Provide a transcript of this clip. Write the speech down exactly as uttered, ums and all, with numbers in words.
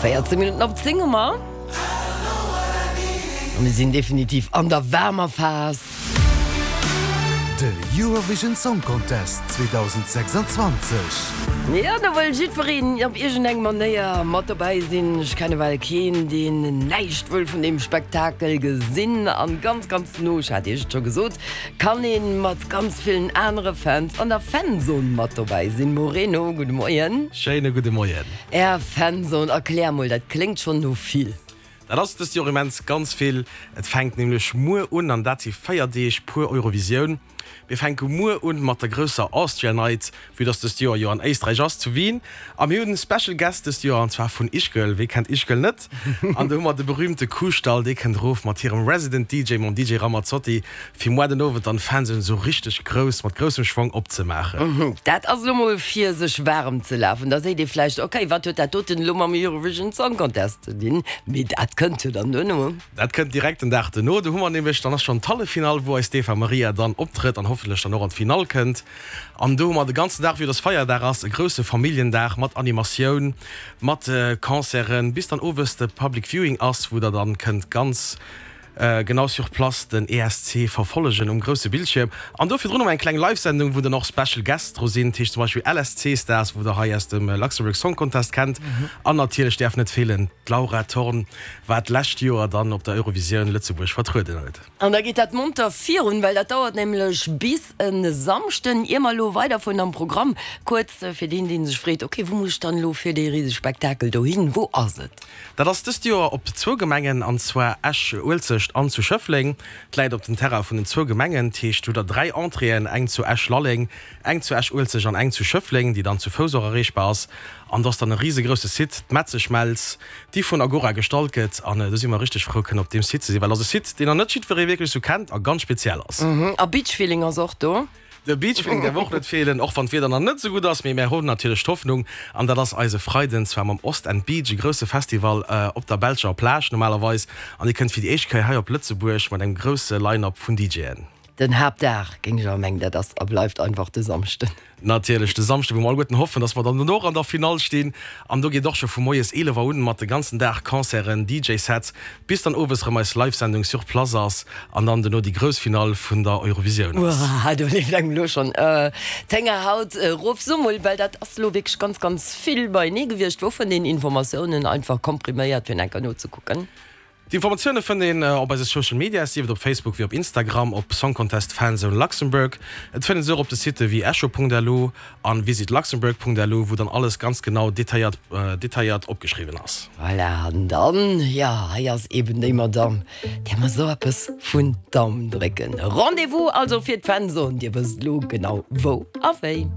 Véierzéng Minutten op zéng hu mer. A mir sinn definitiv an der waarmer Phas. De Eurovision Song Contest zweedausendsechsundzwanzeg. Jo, do wëll jiddwereen op iergendeng Manéier mat dobäi sinn. Ech kenne bal keen, deen näischt wëll vun deem Spektakel gesinn. An ganz, ganz no, ech hat Iech et scho gesot, kann ee mat ganz villen anere Fans an der Fanzone mat dobäi sinn. Moreno, gudde Moien. Schéine gudde Moien. Är Fanzone, erklär mol, dat kléngt schonn no vill. Dat ass dëst Joer immens ganz vill. Et fänkt nämlech muer un an dat si véier Deeg pur Eurovisioun. Mir fänke muer un mat der grousser Austria Night, vue dass dëst Joer jo an Éisträich ass, zu Wien. A mir hunn e Special Guest dëst Joer an zwar vun Ischgl. Wee kennt Ischgl net? An do hu mer de berühmte Kuhstall, dee kënnt erof mat hirem Resident D J, mam D J Ramazzotti, fir muer den Owend dann d'Fanzone esou richteg grouss, mat groussem Schwong opzemaachen. Dat ass elo mol fir sech waarem ze lafen. Da seet ee vläicht, ok, wat huet dat doten elo mam Eurovision Song Contest ze dinn? Mee dat kënnt jo dann duerno. Dat kënnt direkt den Dag duerno. Do hu mer nämlech, dann ass schonn d'Halleffinall, wou eis d'Eva Marija dann optrëtt an hoffentlech dann och an d'Finall kënnt. An do hu mer de ganzen Dag, vue dass Feierdag ass, e grousse Familljendag mat Animatioun, mat Concerten, bis dann owes de Public Viewing ass, wou der dann kënnt ganz genau sur place den E S C verfollegen um grousse Bildschierm. An do virdrun hu mer eng kleng Live-Sendung, wou dann och Special Guests dru sinn, dat heescht zum Beispill L S C Stars, wou der hei aus dem Luxembourg Song Contest kennt. An natierlech däerf net feelen d'Laura Thorn, wat d'lescht Joer dann op der Eurovisioun Lëtzebuerg vertrueden huet. An da geet dat monter virun, well dat dauert nämlech bis e Samschden. Ier mer elo weiderfueren am Programm, kuerz fir deen, dee sech freet, ok, wou muss ech dann elo fir dee risege Spektakel dohin, wou ass et? Dat ass dëst Joer op zwou Gemengen, an zwar Esch-Uelzecht an zu Schëffleng. Et läit op den Terrain vun den zwou Gemengen, dat heescht, hutt der dräi Entréeën, eng zu Esch-Lalleng, eng zu Esch-Uelzecht an eng zu Schëffleng, déi dann zu Fouss och erreechbar ass. An do ass dann e risegrousse Site, d'Metzeschmelz, déi vun Agora gestallt gëtt. An do si mer richteg frou, kënnen op deem Site ze sinn, well ass e Site, deen nach net jiddweree wierklech sou kennt a ganz speziell ass. A Beachfeeling ass och do? De Beachfeeling däerf och net feelen, och wann d'Wieder nach net sou gutt ass, mee mär hunn natierlech d'Hoffnung, an dat ass eise Freiden, zwar mam Ostend Beach, e grousse Festival op der belscher Plage normalerweis, an dee kënnt fir déi éischt Kéier hei op Lëtzebuerg mat engem grousse Line-Up vun D J'en. Den Haaptdag, géing ech awer mengen, dat ass a bleift einfach de Samschden. Natierlech de Samschden, wou mer alleguerten hoffen, dass mer dann dono och an der Finall stinn. An do geet och scho vu moies eelef Auer un mat de ganzen Dag Concerten, D J-Sets, bis dann owes erëm eis Live-Sendung sur place ass an dann dono déi grouss Finall vun der Eurovisioun ass. Uah, do leeft engem elo schonn d'Héngerhaut erof. So mol, well dat ass elo wierklech ganz, ganz vill beienee gewiescht, wou fënnt een Informatiounen einfach kompriméiert, fir enker nozekucken? D'Informatioune fënnt een op eise Social Medias, sief et op Facebook wéi op Instagram, op Song Contest Fanzone Luxembourg. Et fënnt een se och op de Sitte wéi echo Punkt L U an visitluxembourg Punkt L U, wou dann alles ganz genau detailléiert detailléiert opgeschriwwen ass. Voilà, an dann, jo, hei ass eben déi Madame, där mer sou eppes vun Daumen drécken. Rendez-vous also fir d'Fanzone, dir wësst elo genau wou a wéi.